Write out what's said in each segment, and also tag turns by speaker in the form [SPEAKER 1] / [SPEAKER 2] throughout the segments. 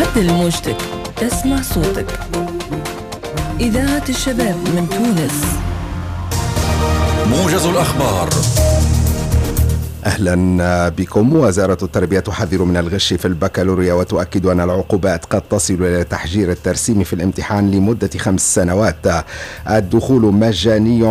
[SPEAKER 1] عدل موجتك تسمع صوتك. إذاعة الشباب من تونس.
[SPEAKER 2] موجز الأخبار.
[SPEAKER 3] أهلا بكم. وزارة التربية تحذر من الغش في البكالوريا وتؤكد أن العقوبات قد تصل إلى تحجير الترسيم في الامتحان لمدة 5 سنوات. الدخول مجاني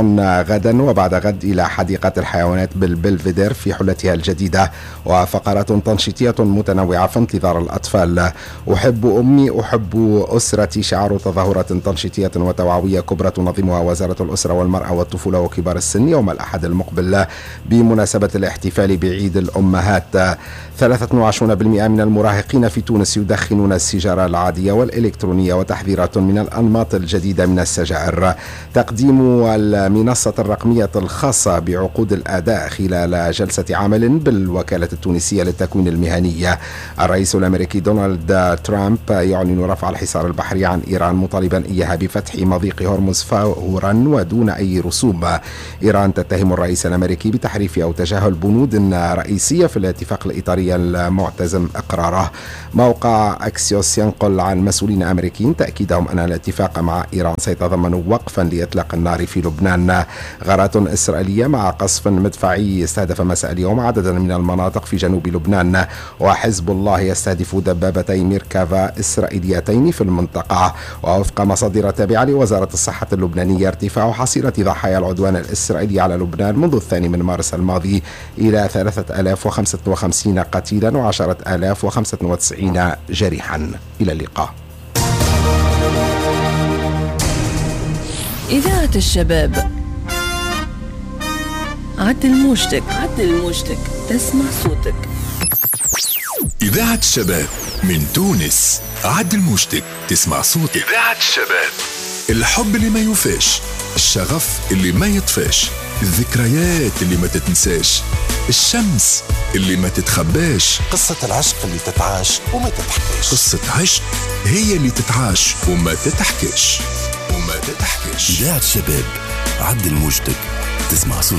[SPEAKER 3] غدا وبعد غد إلى حديقة الحيوانات بالبلفيدير في حلتها الجديدة، وفقرات تنشيطية متنوعة في انتظار الأطفال. أحب أمي أحب أسرتي شعار تظاهرة تنشيطية وتوعوية كبرى تنظمها وزارة الأسرة والمرأة والطفولة وكبار السن يوم الأحد المقبل بمناسبة الاحتفال بعيد الأمهات. 23% من المراهقين في تونس يدخنون السيجارة العادية والإلكترونية، وتحذيرات من الأنماط الجديدة من السجائر. تقديم المنصة الرقمية الخاصة بعقود الأداء خلال جلسة عمل بالوكالة التونسية للتكوين المهني. الرئيس الأمريكي دونالد ترامب يعلن رفع الحصار البحري عن إيران مطالبا إياها بفتح مضيق هرمز فورا ودون أي رسوم. إيران تتهم الرئيس الأمريكي بتحريف أو تجاهل بنود رئيسية في الاتفاق الإطاري المعتزم إقراره. موقع أكسيوس ينقل عن مسؤولين أمريكيين تأكيدهم أن الاتفاق مع إيران سيتضمن وقفا لإطلاق النار في لبنان. غارات إسرائيلية مع قصف مدفعي استهدف مساء اليوم عددا من المناطق في جنوب لبنان، وحزب الله يستهدف دبابتي ميركافا إسرائيليتين في المنطقة. ووفق مصادر تابعة لوزارة الصحة اللبنانية ارتفاع حصيلة ضحايا العدوان الإسرائيلي على لبنان منذ 2 مارس الماضي إلى 3055 قتيلا و10,095 جريحا. إلى اللقاء.
[SPEAKER 1] إذاعة الشباب. عدل موجتك، عدل موجتك تسمع صوتك.
[SPEAKER 2] إذاعة الشباب من تونس. عدل موجتك تسمع صوتك. إذاعة الشباب. الحب اللي ما يوفاش، الشغف اللي ما يطفاش، الذكريات اللي ما تتنساش، الشمس اللي ما تتخباش،
[SPEAKER 4] قصة العشق اللي تتعاش وما تتحكاش.
[SPEAKER 2] قصة عشق هي اللي تتعاش وما تتحكاش وما تتحكاش.
[SPEAKER 4] إذاعة الشباب، عدل موجتك تسمع صوتك.